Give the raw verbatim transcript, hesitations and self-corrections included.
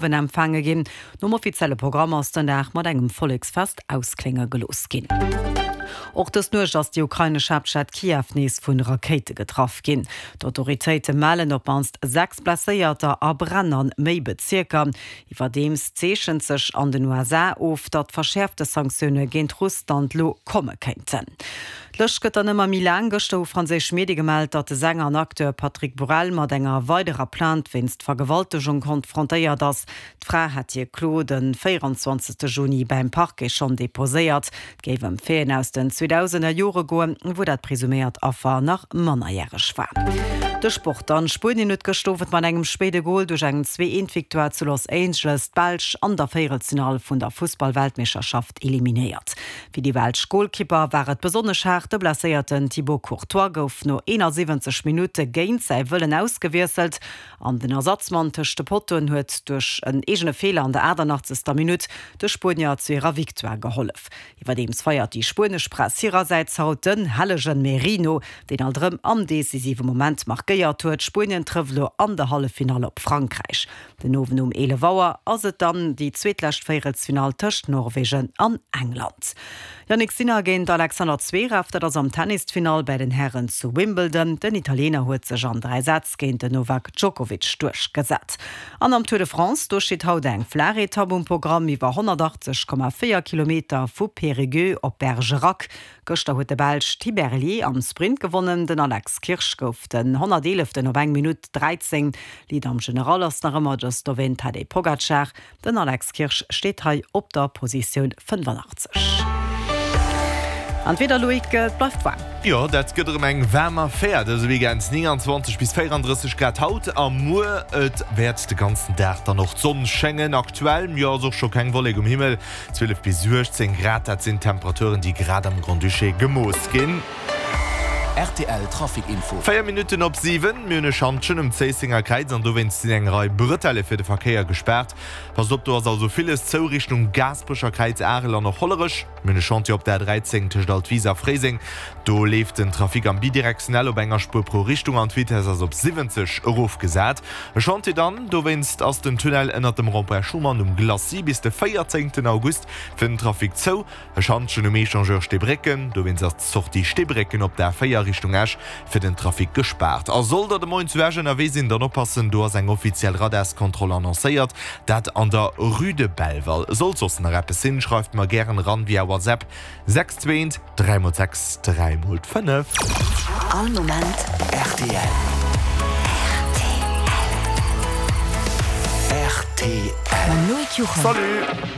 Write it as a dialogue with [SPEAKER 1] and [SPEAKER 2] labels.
[SPEAKER 1] Empfaange ginn. Nom offizielle Programm ass den Dag mat engem Volleksfest ausklénge gelooss ginn. Och dës Nuecht ass déi ukrainesch Haaptstad Kiew nees vu Rakéite getraff ginn. D'Autoritéite mellen op d'mannst sechs Blesséierter a Bränn an méi Bezierker. Iwwerdeems zeechent sech an den U S A of, datt verschäerfte Sanktioune géint Russland lo komme kéinten. D'Lëscht gëtt dann ëmmer méi laang. Gëschter hu franséisch Medie gemellt, datt de Sänger an Acteur Patrick Bruel mat enger weiderer Plainte wéinst Vergewaltegung konfrontéiert ass. D'Fra hätt hir Klo de véierundzwanzegste Juni beim Parquet schonn deposéiert. Et géif ëm Faiten aus den zweedausender Jore goen, wou dat presuméiert Affer nach mannerjäreg war. De Sport an Spuenien huet gëschter Owend mat engem spéide Gol duerch eng zwee-eent-Victoire zu Los Angeles d'Belsch an der Véierelsfinall vun der Fussballweltmeeschterschaft eliminéiert. Fir déi belsch Golkipper war et besonnesch haart. De blesséierten Thibaut Courtois gouf no eenasiwwenzeg Minutte géint säi Wëllen ausgewiesselt an den Ersatzmann tëscht de Pottoen huet duerch en eegene Feeler an der achtundachtzegster Minutt de Spuenier zu hirer Victoire gehollef. Iwwerdeems feiert déi spuenesch Press hirersäits haut den hellegen Merino, deen alt erëm am decisive Moment markéiert huet. Spuenien trëfft elo an der Halleffinall op Frankräich. Den Owend um eelef Auer ass et dann déi zweetlescht Véierelsfinall tëscht Norwegen an England. Jannik Sinner géint Alexander Zverev, dat ass am Tennisfinall bei den Herren zu Wimbledon. Den Italiener huet sech an dräi Sätz géint den Novak Djokovic duerchgesat. An am Tour de France, do steet haut eng flaach Etapp um Programm iwwer honnertachtzeg Komma véier Kilometer vu Périgueux op Bergerac. Gëschter huet de Belsch Thibert am Sprint gewonnen. Den Alex Kirsch gouf den honnerteeleften op eng Minutt dräizéng. Lead am General ass nach ëmmer de Slowen Tadej Pogacar. Den Alex Kirsch steet hei op der Positioun fënnefundachtzeg. An d'Wieder, Loïc, et bleift waarm.
[SPEAKER 2] Jo, dat gëtt erëm eng waarm Affär dëse Weekend. Neunundzwanzeg bis véierunddrësseg Grad haut a muer. Et wäert de ganzen Dag dann och d'Sonn schéngen. Aktuell, jo, ass och scho keng Wollek um Himmel. zwielef bis uechtzéng Grad, dat sinn d'Temperaturen, déi grad am Grand-Duché gemooss ginn.
[SPEAKER 3] R T L Trafic Info.
[SPEAKER 2] Véier Minutten op siwen, mir hunn e Schantjen um Zéissenger Kräiz an dowéinst sinn eng Rei Bretelle fir de Verkéier gespaart. Passt op, do ass also villes zou Richtung Gaasperecher Kräiz, Arel an och Hollerech. Mir hunn e Chantier op der A dräizéng tëscht Altwis a Fréiseng. Do leeft den Trafic am bidirektionell op enger Spuer pro Richtung an d'Vitess ass op siwwenzeg erofgesat. E Chantier dann, dowéinst ass den Tunnel ënnert dem Rond-point Schuman um Glacis bis de véierzéngten August fir den Trafic zou. E Schantjen um Echangeur Steebrécken, dowéinst ass d'Sortie Steebrécken op der A véier Richtung Esch fir den Trafic gespaart. A sollt der de Moien zu Esch ënnerwee sinn, dann oppassen, do ass eng offiziell Radarskontroll annoncéiert, dat an der Rue de Belval. Sollt soss nach eppes sinn, schreift mer gären eran via WhatsApp sechs zwee eent dräi mol sechs dräi mol fënnef.
[SPEAKER 4] All Moment
[SPEAKER 3] R T L. R T L.
[SPEAKER 4] Mam Loïc Juchem.
[SPEAKER 2] Salut!